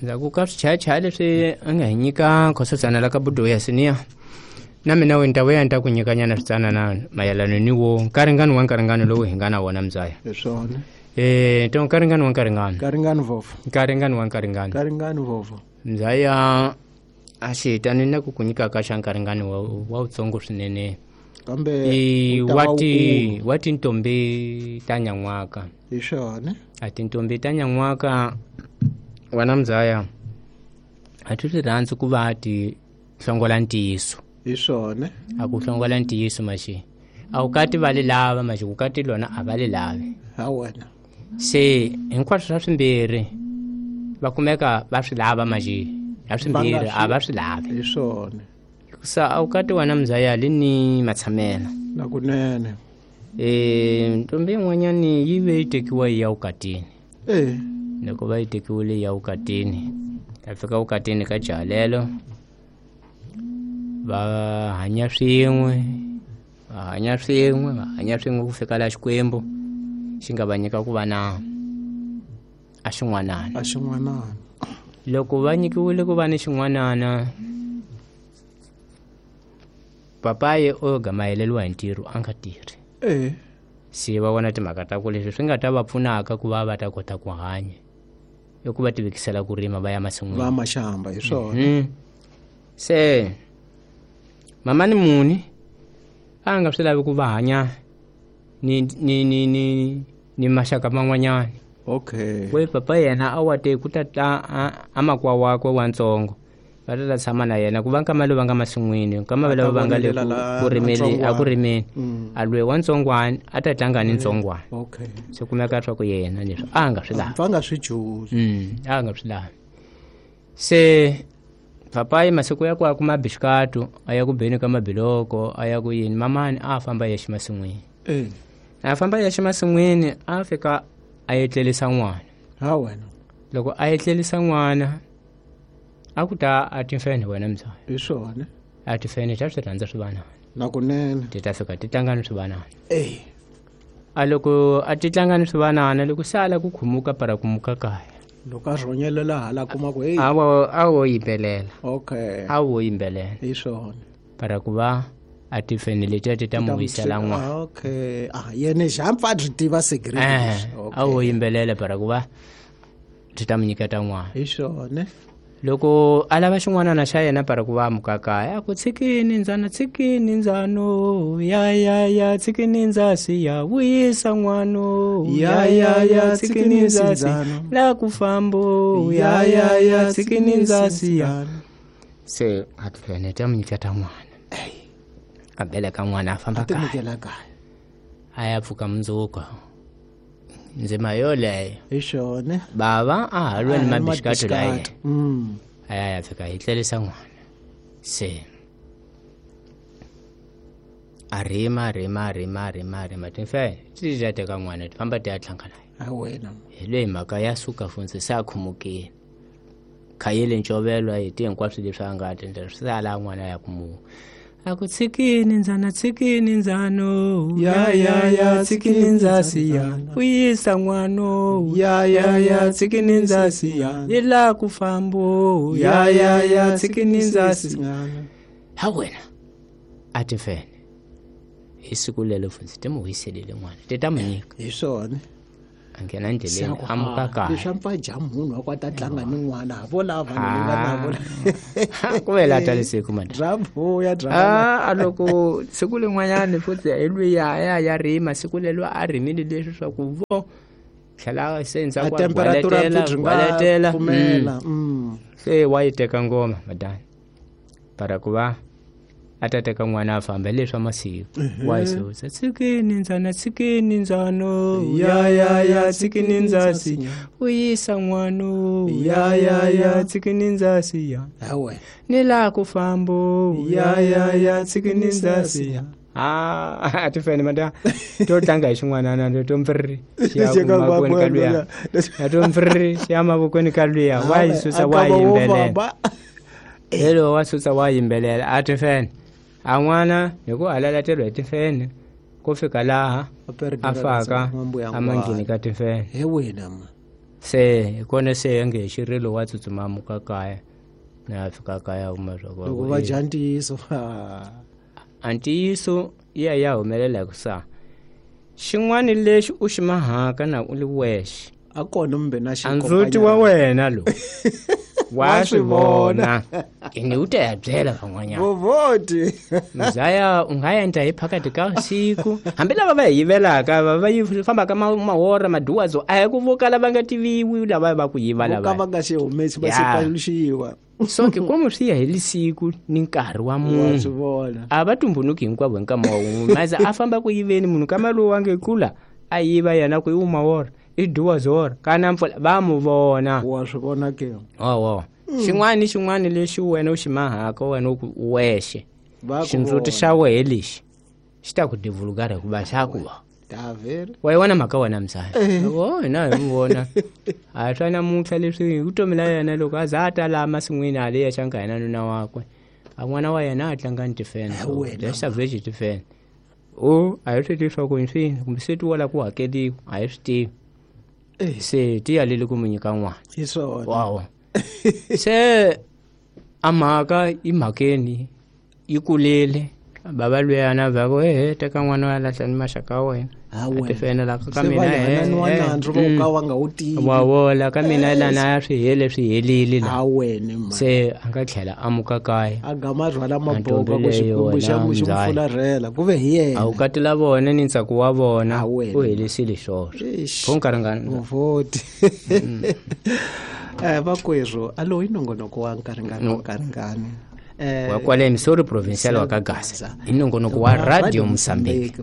Ndzhaku ka swichayachaya leswi a nga hi nyika khososana la ka budo ya siniya na mina we ni ta vuya ni ta ku nyikanyana switsanana mayelana ni wo nkaringano wa nkaringano lowu hi nga na wona mzaya. Hi swona. To nkaringano wa nkaringano. Nkaringano vovo. Nkaringano wa nkaringano. Nkaringano vovo. Mzaya a xi hitani na ku ku nyika ka xa nkaringano wa wutsongo swinene. Kambe wa tintombi ta nyan'waka. Hi swona. A tintombi ta nyan'waka wena mzaya a ti swi rhandzi ku va ti hlongola ntiyiso. Hi swona. A ku hlongola ntiyiso maxi. A wu kati va li lava maxi ku kati lona a va li lavi. Ha wena. Se hinkwaswo swa swimbirhi va kumeka va swi lava maxi. Ya swimbirhi a va swi lavi. Hi swona. Sa a wu kati wena mzaya li ni matshamela. Na kunene. Ntombi yin'wanyani yi ve yi tekiwa yi ya vukatini. Loko va yi tekiwile ya vukatini, ya fika vukatini ka jaha va hanya swin'we, va hanya swin'we, va hanya swin'we ku fika la Xikwembu xi nga va nyika ku va na a xin'wanana. A xin'wanana. Loko va nyikiwile ku va ni xin'wanana, papaye o gamayeleriwa hi ntirho a nga tirhi. Se va vona timhaka ta ku leswi swi nga ta va pfunaka ku va va ta kota ku hanya i ku va tivekisela ku rima va ya masin'wini. Va maxamba hi swona. Se mamani muni a nga swi lavi ku va hanya ni maxaka man'wanyana. Okay. We papa yena a wa te ku ta ta a makwa wakwe wa ntsongo va ta tshama na yena ku va nkama lowu va nga masin'wini nkama lowu va nga le ku rimeni a ku rimeni a lwe wa ntsongwana a ta tlanga ni ntsongwana. Okay. Se kumeka swa ku yena leswi a nga swi lavi. Va nga swi juzi. A nga swi lavi. Se papayi masiku ya ku a kuma bixikatu a ya ku beni ka mabiloko a ya ku yini mamani a famba yexe masin'wini. A famba yexe masin'wini a fika a etlerisa n'wana. Ha wena. Loko a etlerisa n'wana a ku ta a timfenhe wena mzaya. Hi swona. A timfenhe ta swi rhandza swivanana. Na kunene. Ti ta fika ti tlanga ni swivanana. A loko a ti tlanga ni swivanana loko se ala ku khumuka para kumuka kaya. Loko a rhonyelela hala kuma ku hey. A wo yimbelela. Okay. A wo yimbelela. Hi swona. Para ku va a timfenhe letiya ti ta mu wisela n'wana. Okay. Ah yena xa mpfa byi tiva secret. Okay. A wo yimbelela para ku va ti ta mu nyiketa n'wana. Hi swona. Loko a lava xin'wanana xa yena para ku va mukakaya a ku tshikini ndzana tshikini ndzano ya ya ya tshikini ndzasi ya vuyisa n'wano ya ya ya tshikini ndzasi la ku fambo ya ya ya tshikini ndzasi ya. Se a tifene ta mu nyiketa n'wana. A beleka n'wana a famba kaya. A ya pfuka mundzuku. Ndzima yoleyo. Hi swona. Bava a ha lwe ni mabixikatu la yena. A ya ya fika hi tlerisa n'wana. Se a rima rima rima rima rima timfenhe ti ta teka n'wana ti famba ti ya tlanga na yena. A wena. Hi leyi mhaka ya suka funtsi se a khumukile. Khayele ncovelo a heti hinkwaswo leswi a nga ta endla swi sala n'wana ya ku mu. A ku tshikini ndzana tshikini ndzano ya ya ya tshikini ndzasi ya vuyisa n'wano ya ya ya tshikini ndzasi ya yi la ku fambo ya ya ya tshikini ndzasi. Ha wena a timfenhe hi siku lelo funtsi ti mu wiselile n'wana ti ta mu nyika. Hi swona. A nghena endleleni a muka kaya. Leswi a mpfa dya munhu wa ku a ta tlanga ni n'wana vo lava vanhu ni nga na vona. Ku ve la ta lesiku mani. Dya vuya dya. A loko siku lin'wanyani futhi hi luya ya ya rima siku lelo a rimile leswi swa ku vo tlhela se ndzhaku a temperature gwaletela. Pfumela. Se wa yi teka ngoma madani. Para ku va a ta teka n'wana a famba leswa masiku. Wa yi susa tshikini ndzana tshikini ndzano ya ya ya tshikini ndzasi vuyisa n'wano ya ya ya tshikini ndzasi ya ha wena ni la ku fambo ya ya ya tshikini ndzasi ya. A ti fene mata to tlanga hi xin'wanana to mpfiriri xi ya mavokweni ka luya. To mpfiriri xi ya mavokweni ka luya wa yi susa wa yimbelela. Hello wa susa wa yimbelela a ti fene. A n'wana hi ku halalateriwa hi timfenhe ku fika laha a faka a mangheni ka timfenhe. He wena ma. Se hi kona se nge xirilo wa tsutsuma muka kaya na fika kaya kuma swa ku loko va dya ntiyiso a ntiyiso ya humelela ku sa xin'wana lexi u xi mahaka na u li wexe a kona mbe na a ndzhuti wa wena lo wa swi vona ene u ta ya byela van'wanyana vovoti mzaya u nga endla hi phakati ka siku hambi lava va hi yivelaka va va yi fambaka mahora maduwadzo a hi ku vo kala va nga tiviwi lava va ku yiva ka lava va nga xi humesi va xi paluxiwa so ke komu swi ya hi lisiku ni nkarhi wa wa munhu swi vona a va tumbunuki hinkwavo hi nkama wa wun'we maze a famba ku yiveni munhu kama lowu wa nge kula a yiva yena ku i wumawora i duwazora kana mpfula va mu vona wa swi vona ke owo xin'wana ni xin'wana lexi wena u xi mahaka wena u ku wexe va ku xindzuti xa wehe lexi xi ta ku divulugara hikuva xa ku va daveri wa yi vona mhaka wena mzala o hina hi mu vona a swa namuntlha leswi hi vutomi la yena loko a za a ta laha masin'wini hale ya xanka yena nuna wakwe a n'wana wa yena a tlanga ni tifene wena. savage tifene o a hi swi tivi swa ku hi swini kumbe se ti wala ku hakeliwa a hi swi tivi se ti yalele ku mu nyika n'wana hi swona wawo se a mhaka i mhakeni yi kulile bava luyana va ku ehe teka n'wana wa lahla ni maxaka ya wena Ha A wena. tifena la ka Se mina va hananiwa nandzu vo ka va nga wu tivi wa vola ka mina lana ya swi hele swi helile la ha wena ma se a nga tlhela a muka kaya a gama rhwala Ntombi maboka ku leyo xikwembu xa wena, xi n'wi mzala. fularhela ku ve hi a yena wu katela vona ni ntsako wa vona Ha wena. u helisile swoswo Eish. pho nkarhi vovoti vakwerhu a lowu i nongonoko wa nkaringani wa nkaringani wa kwale missouri provincial wa ka gaza hi nongonoko wa radio mozambique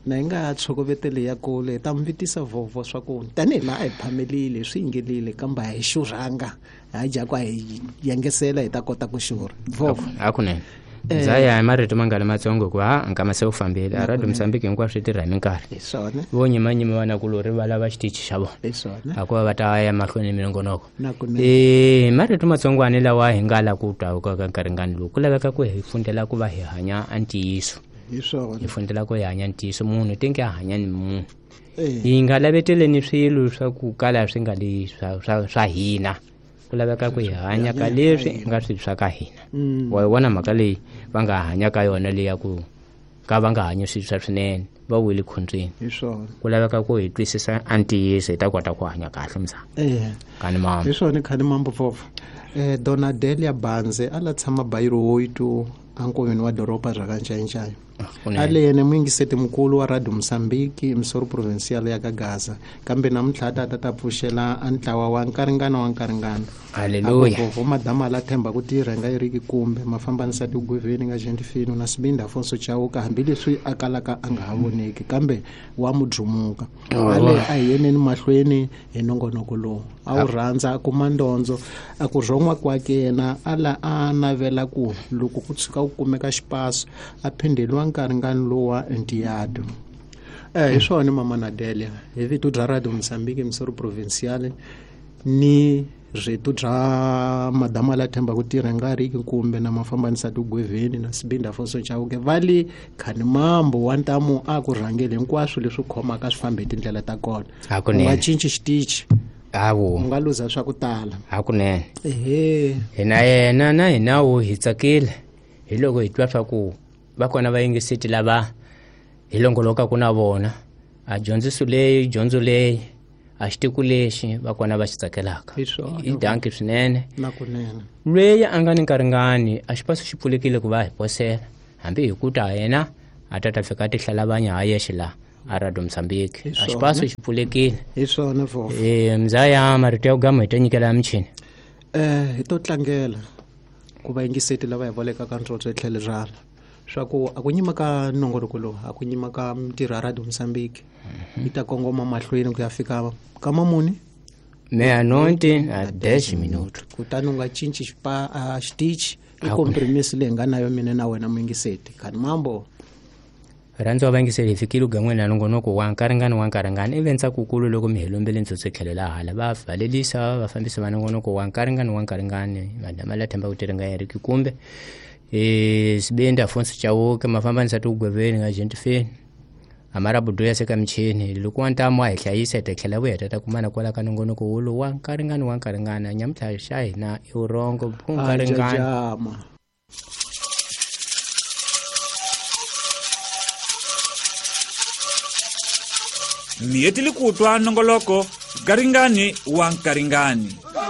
na hi nga tshokoveteli ya kule hi ta mi vitisa vhovho swa ku tanihi laha a hi phamelile swi yingelile kambe a hi xurhanga ha dya ku a hi yengesela hi ta kota ku xurha vhovho hakunene ndzaya hi marito mangani matsongo hikuva ha nkama se wu fambile a radio mozambique hinkwaswo swi tirha hi minkarhi hi swona vo nyimanyima vanakulori va lava xitichi xa vona hi swona hikuva va ta ya mahlweni ni minongonoko na kunene marito matsongwani lawa hi nga la ku twa ka nkaringani lowu ku laveka ku hi fundela ku va hi hanya a ntiyiso hi swona hi fundela ku hi hanya ntiyiso munhu te nge a hanya ni munhu Eh, hi nga laveteleni swilo swa ku kala swi nga li swa hina ku laveka ku hi hanya ka leswi nga swilo swa ka hina mm, wa yi vona mhaka leyi va nga hanya ka yona leyi ya ku ka va nga hanyi swilo swa swinene va wile khontsweni hi swona ku laveka ku hi twisisa a ntiyiso hi ta kota ku hanya kahle mzana eh kani mama hi swona khani mambo vhovho donadelia banze a la tshama bayiro woitu ankoveni wa doroba ra ka ncayincaya Kunene. a le yena muyingiseti mukulu wa radio mosambiki missouri provincial ya ka gaza kambe namuntlha a ta ta pfuxela a ntlawa wa nkaringana wa nkaringana Haleluya. vovo madama la themba ku tirha nga eriki kumbe mafambanisa tigweveni nga gentifino na sibindi afonso chauka hambileswi a kalaka a nga ha voneki kambe wa mudlumuka ale a hi yeneni mahlweni hi nongonoko lowu a wu rhandza a kuma ndondzo a ku rhon'wa kwake yena a la a navela ku loko ku tshuka ku kumeka xipaso a phindeliwa nkaringani lowa ntiyado hi swona mama Nadelia hi vito bya radio Mozambique Missouri Provincial ni rito bya madama la themba ku tirha nga riki kumbe na mafambanisa tigweveni na sibindi afonso chauke va le khani mambo wa ntamu a ku rhangeli hinkwaswo leswi khomaka swi fambe hi tindlela ta kona Hakunene. u nga cinci xitichi hawu u nga luza swa ku tala hakunene ehe hina yena na hina wu hi tsakile hi loko hi twa swa ku va kona vayingiseti lava hi longolokaka na vona a dyondziso leyi dyondzo leyi a xitiku lexi va kona va xi tsakelaka Hi swona. i danki swinene na kunene lweyi a nga ni nkaringani a xipaso xi pfulekile ku va hi posela hambi hi ku ta yena a ta ta fika a tihlalabanya ha yexe laha a radio mozambique Hi a swona. xipaso xi pfulekile hi swona vhovho mzaya marito ya ku gama hi ta nyikela ya michini hi to tlangela ku vayingiseti lava hi volekaka ntsotso hi tlhelo rana swa ku a ku nyima ka nongonoko lowu a ku nyima ka mintirho ya radio mozambique yi ta kongoma mahlweni ku ya fika ka mamuni meia-noite a 10 minutos kutani u nga cinci a xitichi i compromise leyi nga na yo mina na wena muyingiseti khani mambo rhandza va yingiseli hi fikile ugan'weni na nongonoko wa nkaringani wa nkaringani ivi ntsakukulu loko mi hi lombele ntsotso tlhelo la hala va valelisa vafambisi va nongonoko wa nkaringani wa nkaringani madama la themba ku tirha nga heriki kumbe sibindi afonso chauke mafambanisa tigweveni nga gentifeni Amara buduya se ka michini loko wa ntamu a hi hlayisa hi ta tlhela vuya hi ta ta kumana kwala ka nongonoko wolowu wa nkaringani wa nkaringana nyamuntlha xa hina i vurhongo ku nkaringani. Jajama. Mi hetile ku twa nongoloko garingani wa nkaringani.